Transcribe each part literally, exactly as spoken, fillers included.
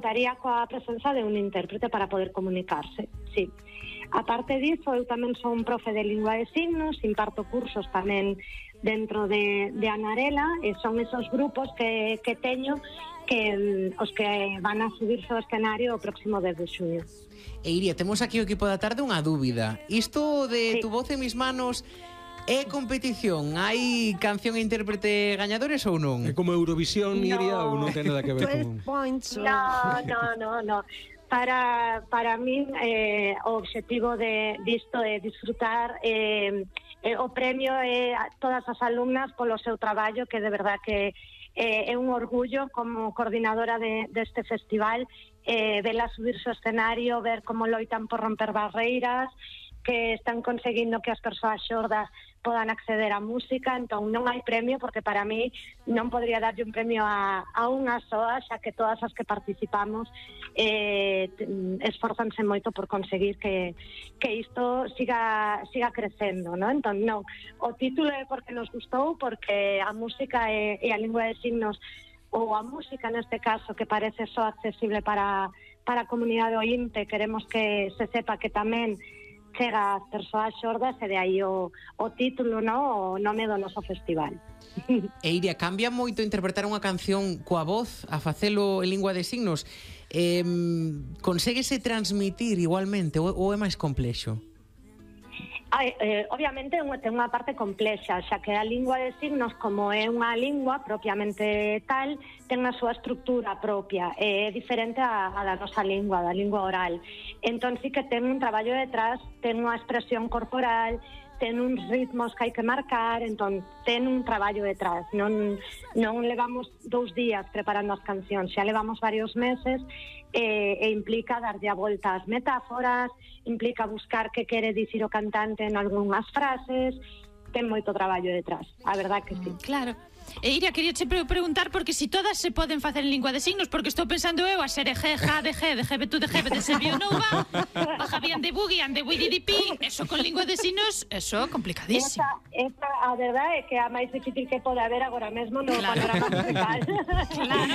contaría coa presenza de un intérprete para poder comunicarse, sí. A parte disso, eu tamén son profe de lingua de signos, imparto cursos tamén dentro de, de Anarela, e son esos grupos que, que teño que os que van a subirse ao escenario o próximo dez de xuño. E Iria, temos aquí o equipo da tarde unha dúbida. Isto de sí. Tu voz en mis manos é competición? Hai canción e intérprete gañadores ou non? É como Eurovisión, no. Iria, ou non ten nada que ver con... No, no, no, no. Para, para min eh, o obxectivo de, disto é disfrutar eh, eh, o premio é a todas as alumnas polo seu traballo, que de verdad que eh, é un orgullo como coordinadora de, deste festival, eh, vela subirse ao escenario, ver como loitan por romper barreiras, que están conseguindo que as persoas xordas podan acceder á música. Entón non hai premio, porque para mí non podría darlle un premio a, a unha soa, xa que todas as que participamos eh, esforzanse moito por conseguir que, que isto siga, siga crecendo, ¿no? Entón non, o título é porque nos gustou, porque a música e, e a lingua de signos, ou a música neste caso, que parece só accesible para, para a comunidade ointe, queremos que se sepa que tamén chega ás persoas xordas, e de aí o, o título, no? O nome do noso festival. E Iria, cambia moito interpretar unha canción coa voz a facelo en lingua de signos? Eh, Conséguese transmitir igualmente ou, ou é máis complexo? Ai, eh, obviamente ten unha parte complexa, xa que a lingua de signos, como é unha lingua propiamente tal, ten a súa estructura propia, é diferente a, a da nosa lingua, da lingua oral. Entón sí que ten un traballo detrás, ten unha expresión corporal, ten uns ritmos que hai que marcar, entón ten un traballo detrás. Non, non levamos dous días preparando as cancións, xa levamos varios meses, e, e implica darlle a volta ás metáforas, implica buscar que quere dicir o cantante en algunhas frases, ten moito traballo detrás, a verdad que sí. Claro. E Iria, quería che preguntar porque si todas se poden facer en lingua de signos, porque estou pensando eu a ser G, J, de G, de G, tú, de G, de se vio no va, bajavían de boogie, and de wididipi, eso con lingua de signos, eso complicadísimo. Esa, esa, a verdade é que a máis difícil que pode haber agora mesmo no claro. Panorama musical. Claro.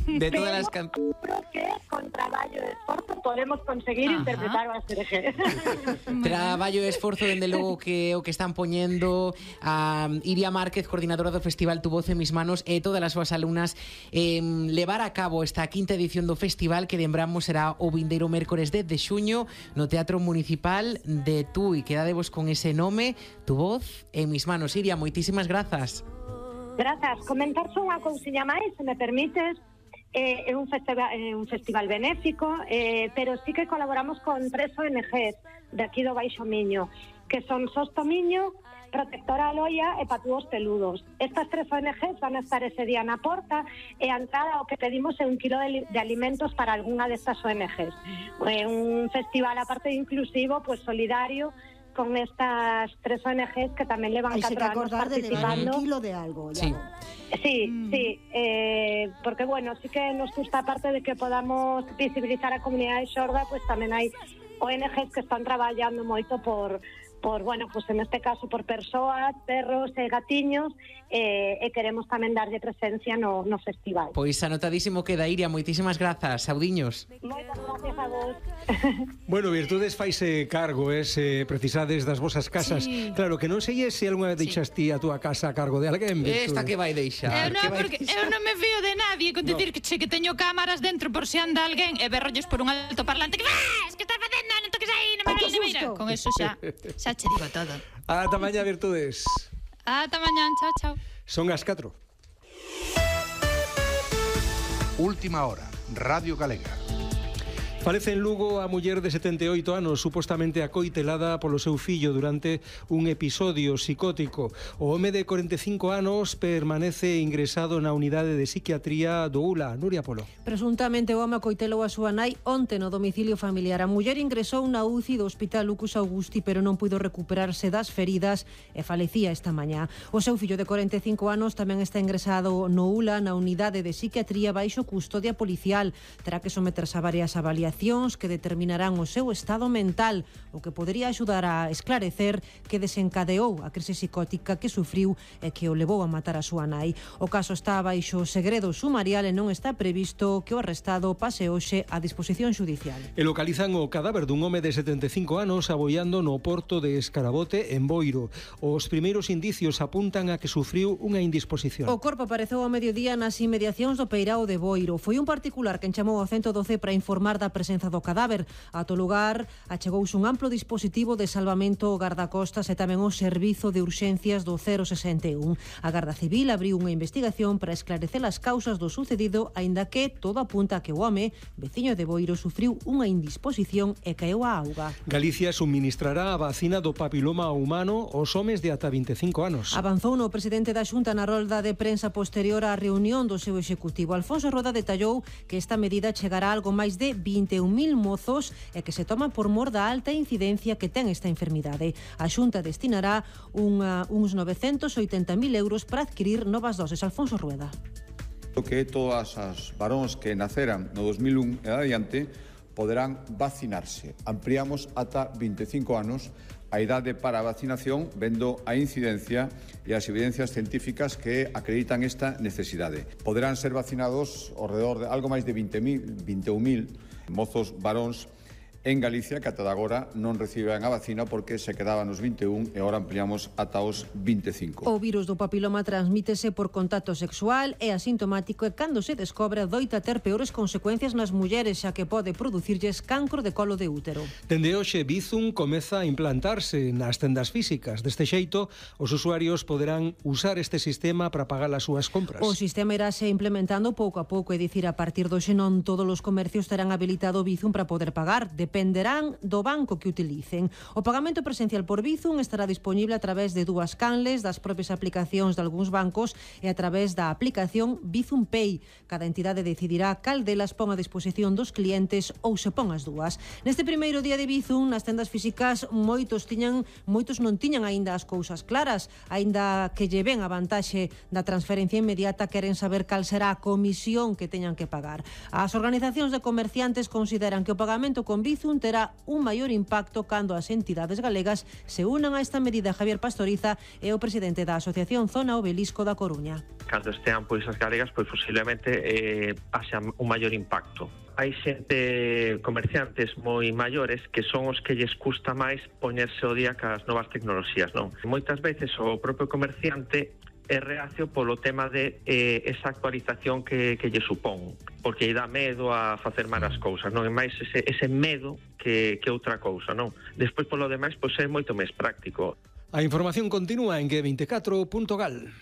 De todas as cancións. Que con traballo e esforzo podemos conseguir Ajá. interpretar o A S R G. Traballo e esforzo, dende logo, que o que están poñendo a Iria Márquez, coordinadora do festival Tu voz en mis manos, e todas as súas alumnas, eh, levar a cabo esta quinta edición do festival, que lembramos será o vindeiro mércores dez de xuño no Teatro Municipal de Tui. Quedadevos con ese nome, Tu voz en mis manos. Iria, moitísimas grazas. Grazas. Comentar só unha cousiña máis, se me permites. Eh, é un festival, eh, un festival benéfico, eh, pero sí que colaboramos con tres O N Ges de aquí do Baixo Miño, que son Sosto Miño, Protectora Aloia e Patúos Peludos. Estas tres O N Ges van a estar ese día na porta, e a entrada o que pedimos é un kilo de, de alimentos para algunha destas O N Ges. É un festival, aparte de inclusivo, pues solidario, con estas tres O N Ges que tamén levan catro anos participando. Un kilo de algo, ya. Sí. Sí, mm. sí, eh, porque bueno, sí que nos gusta, aparte de que podamos visibilizar a comunidade xorda, pues tamén hai O N Ges que están traballando moito por, por bueno, pues en este caso por persoas, perros e gatiños, eh, e queremos tamén darlle presencia no, no festival. Pois anotadísimo queda, Iria, moitísimas grazas, saudiños. Moitas gracias a vos. Bueno, Virtudes faise cargo, eh, se precisades das vosas casas. Sí. Claro, que non sei se algunha vez deixas ti a túa casa a cargo de alguén, Virtudes. Esta que vai deixar. Eu non, vai porque deixar? eu non me fío de nadie con dicir no. que, che, que teño cámaras dentro por se anda alguén e berrolles por un altoparlante que vas, que estás facendo, non toques aí, non me vais, non me mira. Con eso xa, xa che digo todo. Ata mañá, Virtudes. Ata mañán, chao, chao. Son as catro. Última hora, Radio Galega. Falece en Lugo a muller de setenta e oito anos, supostamente acoitelada polo seu fillo durante un episodio psicótico. O home de corenta e cinco anos permanece ingresado na unidade de psiquiatría do U L A. Nuria Polo. Presuntamente o home acoitelou a súa nai onte no domicilio familiar. A muller ingresou na U C I do Hospital Lucas Augusti, pero non puido recuperarse das feridas e falecía esta mañá. O seu fillo de corenta e cinco anos tamén está ingresado no U L A, na unidade de psiquiatría baixo custodia policial. Terá que someterse a varias avaliacións investigacións que determinarán o seu estado mental, o que podería axudar a esclarecer que desencadeou a crise psicótica que sufriu e que o levou a matar a súa nai. O caso está baixo segredo sumarial e non está previsto que o arrestado pase hoxe a disposición xudicial. E localizan o cadáver dun home de setenta e cinco anos aboiando no porto de Escarabote, en Boiro. Os primeiros indicios apuntan a que sufriu unha indisposición. O corpo apareceu ao mediodía nas inmediacións do Peirao de Boiro. Foi un particular quen chamou ao ciento doce para informar da presenza do cadáver. Ato lugar achegouse un amplo dispositivo de salvamento gardacostas e tamén o servizo de urxencias do cero sesenta e un. A Garda Civil abriu unha investigación para esclarecer as causas do sucedido, aínda que todo apunta a que o home, veciño de Boiro, sufriu unha indisposición e caeu á auga. Galicia suministrará a vacina do papiloma humano aos homes de ata vinte e cinco anos. Avanzou no presidente da Xunta na rolda de prensa posterior á reunión do seu executivo. Alfonso Rueda detallou que esta medida chegará a algo máis de vinte e un mil mozos e que se toma por mor da alta incidencia que ten esta enfermidade. A Xunta destinará unha, uns novecentos oitenta mil euros para adquirir novas doses. Alfonso Rueda. Que todas as varóns que naceran no dos mil un e adiante poderán vacinarse. Ampliamos ata vinte e cinco anos a idade para a vacinación, vendo a incidencia e as evidencias científicas que acreditan esta necesidade. Poderán ser vacinados ao redor de algo máis de vinte mil, vinte e un mil mozos varóns en Galicia que ata agora non reciben a vacina porque se quedaban nos vinte e un e agora ampliamos ata os vinte e cinco. O virus do papiloma transmítese por contacto sexual, é asintomático e cando se descobre doita ter peores consecuencias nas mulleres, xa que pode producirlles cancro de colo de útero. Dende hoxe, Bizum comeza a implantarse nas tendas físicas. Deste xeito, os usuarios poderán usar este sistema para pagar as súas compras. O sistema irase implementando pouco a pouco, é dicir, a partir do xe non todos os comercios terán habilitado Bizum para poder pagar. Dependerán do banco que utilicen. O pagamento presencial por Bizum estará disponible a través de dúas canles, das propias aplicacións de algúns bancos e a través da aplicación Bizum Pay. Cada entidade decidirá cal delas pon a disposición dos clientes ou se pon as dúas. Neste primeiro día de Bizum, nas tendas físicas, moitos tiñan, moitos non tiñan aínda as cousas claras, aínda que lle ven a vantaxe da transferencia inmediata, queren saber cal será a comisión que teñan que pagar. As organizacións de comerciantes consideran que o pagamento con Bizum terá un maior impacto cando as entidades galegas se unan a esta medida. Javier Pastoriza é o presidente da Asociación Zona Obelisco da Coruña. Cando estean pois as galegas, pois posiblemente eh, haxa un maior impacto. Hai xente, comerciantes moi maiores, que son os que lles custa máis poñerse ao día cas novas tecnoloxías, non? Moitas veces o propio comerciante é reacio polo tema de eh, esa actualización que, que lle supón, porque lle dá medo a facer mal as cousas, non é máis ese, ese medo que, que outra cousa, non? Despois, polo demais, pois é moito máis práctico. A información continúa en G veinticuatro punto gal.